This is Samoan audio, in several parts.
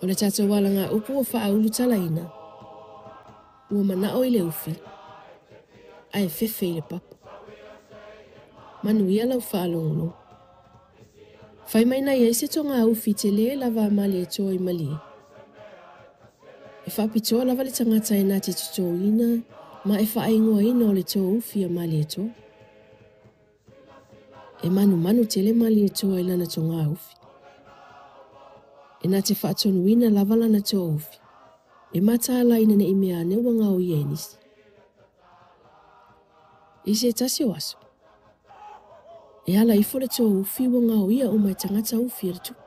O le tatou alagaupu ua faaulutalaina, ua manao i le ufi, ae fefe i le papa. Manuia lau faalogologo. Fai mai na i ai se togaufi tele lava a Malietoa i Malie. E faapitoa lava le tagata e na te totoina ma e faaigoaina o le toufi a Malietoa. E manumanu tele Malietoa i lana togaufi. E na te faatonuina lava lana toufi. E mataala ina ne i mea ane ua gaoia e nisi. I se tasi o aso, e ala ifo le toufi ua gaoia uma e tagata ufi a le tupu.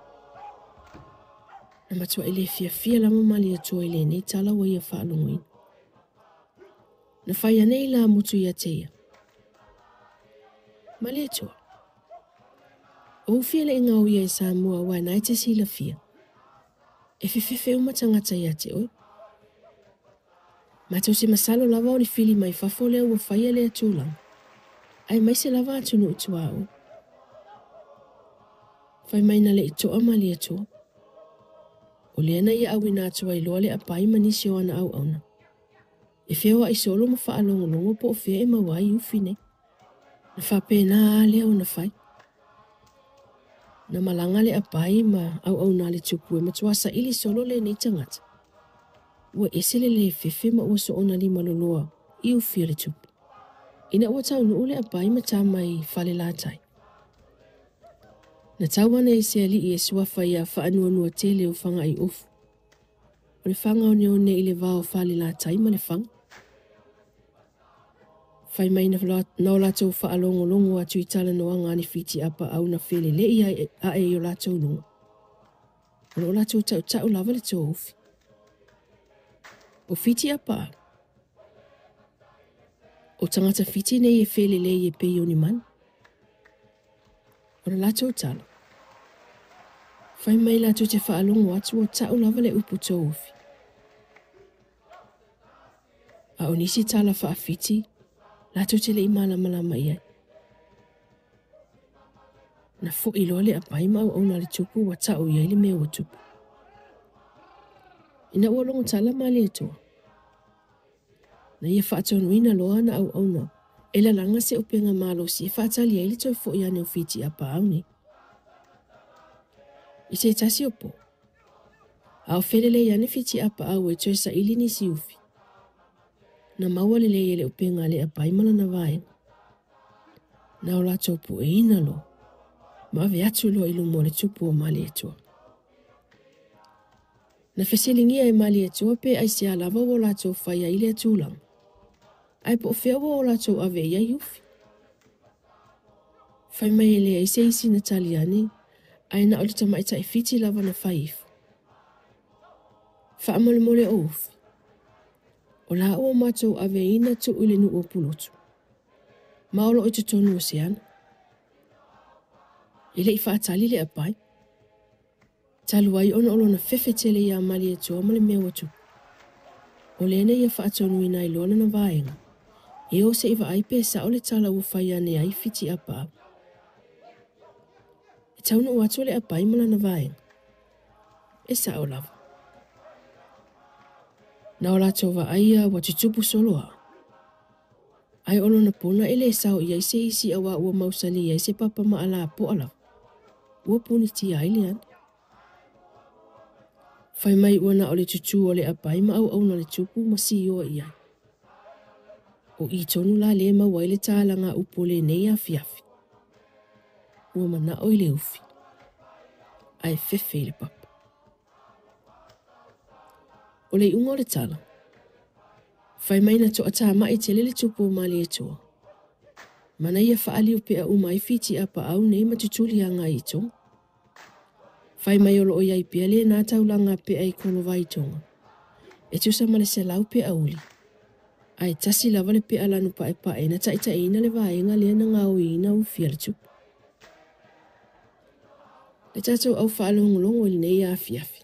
Na matuai le fiafia lava Malietoa i lenei tala ua ia faalogoina. Na fai ane ilāmutu ia te ia. Malietoa, o ufi e le i gaoia e Samoa aua na e te silafia. E fefefe uma tagata ia te oe. Matou se masalo lava o ni fili mai fafo lea ua faia lea tulaga, aemaise lava atunuu i tuaoi. Fai mai na le i toa Malietoa. O lea na ia auina atu ai loa le apai ma nisi o ana auauna. E feoai solo ma faalogologo po o fea e maua ai ufi nei. Na faapena lava lea ona fai. Na malaga le apai ma auauna a le tupu e matua saili solo lenei tagata. Ua ese le le fefe ma ua soona limaloloa i ufi a le tupu. Ina ua taunuu le apai ma tama i Falelatai. Na tau ane i se alii e suafa ia Faanuanuatele o Fagaiofu. O le fagaoneone i le va o Falelatai ma Lefaga. Fai mai na o latou faalogologo atu i talanoaga a ni Fiti apaau na felelei ae i o latou luga. O lo o latou tautau lava le toufi. O Fiti apaau. O tagata Fiti nei e felelei e pei o ni manu. O le latou tala. Fai mai latou te faalogo atu o tau lava le upu toufi. A o nisi tala faafiti, latou te le i malamalama i ai. Na foi loa le apai ma auauna a le tupu ua tau i ai le mea ua tupu. Ina ua logo tala Malietoa, na ia faatonuina loa ana auauna e lalaga se upega malosi e faatali ai le toe foi ane o Fiti apaau nei. I se tasi o po, a o felelei ane Fiti apaau e toe saili nisi ufi, na maua lelei e le upega a le apai ma lana vaega. Na o latou pueina loa, ma ave atu loa i luma o le tupu o Malietoa. Na fesiligia e Malietoa pe aisea lava ua latou fai ai lea tulaga, ae po o fea ua o latou ave i ai ufi. Fai mai e leai se isi na tali ane, ae na o le tamaitai Fiti lava na fai ifo. Faamolemole o ufi. O la ua matou aveina tuu i le nuu o Pulotu. Ma o loo i totonu o se ana. E le i faatali le apai. Talu ai ona o lona fefe tele ia Malietoa ma le mea ua tupu. O lea na ia faatonuina ai loa lana vaega. E o se i vaai pe sao le tala ua fai ane ai Fiti apaau. E taunuu atu le apai ma lana vaega. E sao lava. Na o latou vaaia ua tutupu solo aa. Ae o lona pona e le sao i ai se isi aua ua mausali ai se papa maalapoa lava. Ua punitia ai le ana. Fai mai ua na o le tutū o le apai ma auauna a le tupu ma sioa i ai. O i tonu la lea e maua ai le talaga upu o lenei afiafi. Ua manao i le ufi, ae fefe i le papa. O le iuga o le tala, fai mai na toatamai tele le tupu o Malietoa. Ma na ia faaliupea uma ai Fiti apaau nei ma tutuli agai i Tonga. Fai mai o loo i ai pea lena taulaga pea i Kolovai Tonga. E tusa ma le 100 pea uli. Ae tasi lava le pea lanu paepae na taitaiina le vaega lea na gaoiina ufi a le tupu. Le tatou au faalogologo i lenei afiafi.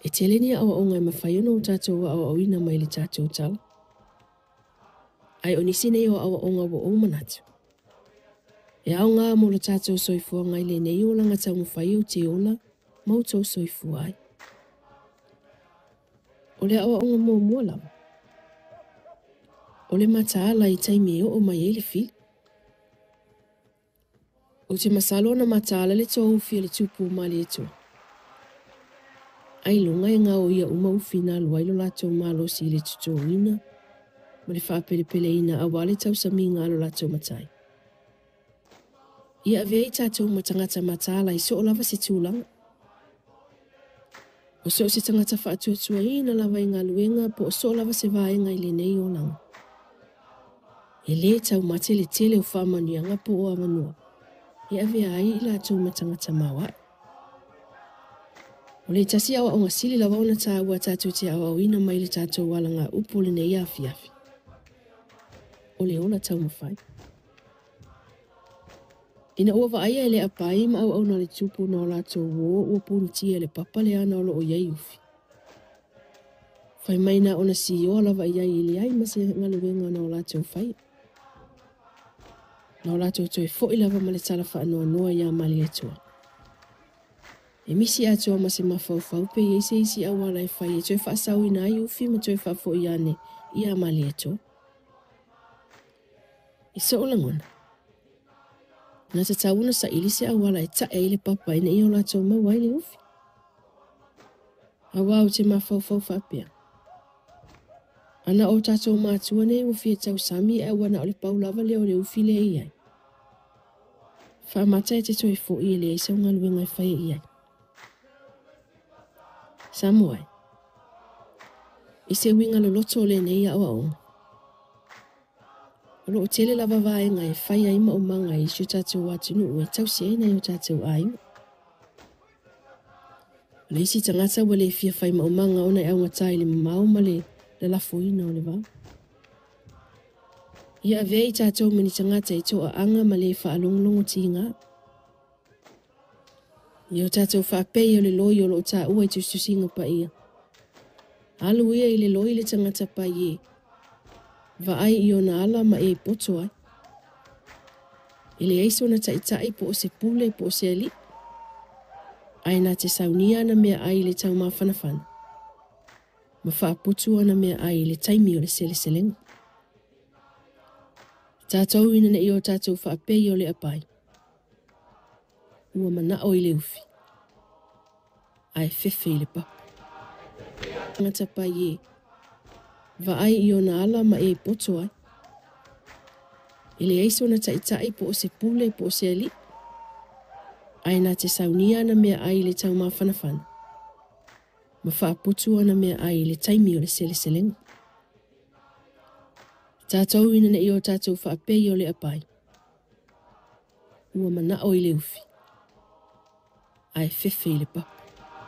E tele ni aoaoga e mafai ona o tatou aoaoina mai le tatou tala. Ae o nisi nei o aoaoga ua ou manatu. E aoga mo lo tatou soifuaga i lenei olaga taumafai ou te ola ma outou soifua ai. O le aoaoga muamua lava, o le mataala i taimi e oo mai ai le fili. Ou te masalo na mataala le toa ufi a le Tupu o Malietoa. Ailoga e gaoia uma ufi na alu ai lo latou malosi i le totogiina ma le faapelepeleina aua le tausamiga a lo latou matai. Ia avea i tatou ma tagata mataala i soo lava se tulaga. O so o se tagata faatuatuaina lava i galuega po o soo lava se vaega i lenei olaga. E lē taumate le tele o faamanuiaga po o avanoa e avea ai i latou ma tagata maoae. O le tasi aoaoga sili lava ona taua tatou te aoaoina mai le tatou alagaupu o lenei afiafi. O le ola taumafai. Ina ua vaaia e le apai ma auauna a le Tupu na o latou uō ua punitia e le papa le ana o lo o i ai ufi. Fai mai na ona sioa lava i ai e leai ma se galuega na o latou faia. Na o latou toe foi lava ma le tala faanoanoa iā Malietoa. E misi atoa ma se mafaufau pe i ai se isi auala e fai e toe faasaoina ai ufi ma toe faafoi ane iā Malietoa. I so'u lagona, na tatau ona saili se auala e ta'e ai le papa ina ia o latou maua ai le ufi. Auā ou te mafaufau faapea, Ana o tatou matua nei ua fia tausami ae ua na o le pau lava lea o le ufi lea e i ai. Faamata e te toe foi e leai sau galuega e faia i ai. Samoa e, i se uiga loloto o lenei aoaoga, o lo o tele lava vaega e fai ai maumaga i si o tatou atunuu e tausi ai nai o tatou aiga. O le isi tagata ua le fia fai maumaga ona e augata i le mamao ma le lalafoina o le vao. Ia avea i tatou ma ni tagata i toaaga ma le faalogologo tiga. Ia o tatou faapei o le loi o lo o taua i tusitusiga paia. Alu ia i le loi le tagata pai e vaai i ona ala ma e poto ai. E leai sona taitai po o se pule po o se alii. Ae na te saunia ana meaai i le taumafanafana ma faaputu ana meaai i le taimi o le seleselega. Tatou ina ne i o tatou faapei o le apai, ua manao i le ufi, ae fefe i le papa. Tagata pai e vaai i ona ala ma e poto ai. E leai sona taitai po o se pule po o se alii, ae na te saunia ana meaai i le taumafanafana ma faaputu ana meaai i le taimi o le seleselega. Tatou ina ne i o tatou faapei o le apai, ua manao i le ufi, ae fefe i le papa.